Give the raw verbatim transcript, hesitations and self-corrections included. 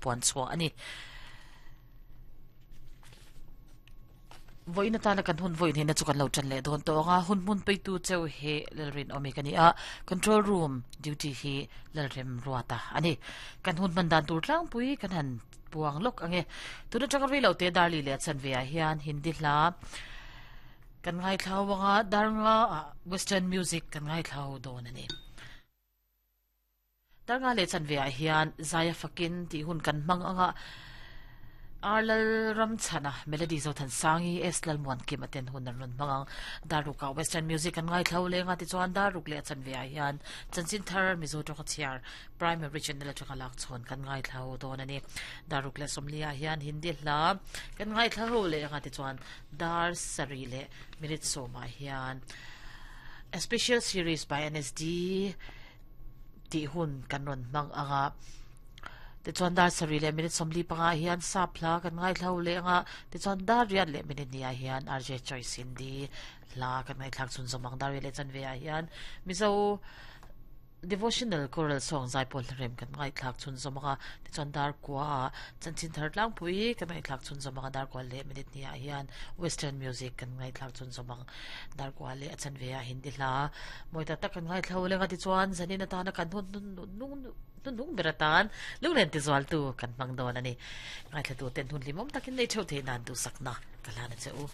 Puan chhuah a ni. Vawiin atana kan hun vawiin hena chu kan lo tan leh dawn tawh ang a, hun hmun peitu cheu hi Lalrinawmi ka ni a, control room duty hi Lalremruata a ni. Kan hun hman dan tur tlangpui kan han puang lawk ang e. Tun atanga rei lo te Darli leh a chanve ah hian Hindi hla kan ngaithlau ang a, Darnga ah Western music kan ngaithlau dawn a ni. Darnga leh chanve ah hian Zaia fakin tih hun kan hmang ang a, Ar Lalramchhana, Melody Zothansangi, S Lalmuankim a ten hun an rawn hmang ang. Darruk ah Western music kan ngaithlo leng a, tichuan Darruk leh a chanve ah hian chanchin thar Mizo tawng a chhiar Primary Channel atanga lak chhawn kan ngaithlo dawn a ni. Darruk leh sawmli ah hian Hindi hla kan ngaithlo leh ang a, tichuan dar sarih leh minute sawm ah hian A Special Series by N S D tih hun kan rawn hmang ang a. Tichuan dar sarih leh minute sawmli panga hian sap hla kan ngaithlo leh ang a, tichuan dar riat leh minute hnih ah hian R J Choice Hindi hla kan ngaihthlak chhun zawm ang. Dar riat leh chanve ah hian Mizo Devotional Choral Song zaipawl hlarem kan ngaihthlak chhun zawm ang a, tichuan dar kua ah chanchin thar tlangpui kan ngaihthlak chhun zawm ang a, dar kua leh minute hnih ah hian Western Music kan ngaihthlak chhun zawm ang. Dar kua leh a chanve ah Hindi hla mawi tak tak kan ngaithlo leng a, tichuan zanin atana kan hun hnung Hnuhnung ber atan lunglen tizualtu kan hmang dawn a ni. Ngaithlatuten hun hlimawm takin nei theuh theih nan duhsakna ka hlan a che u.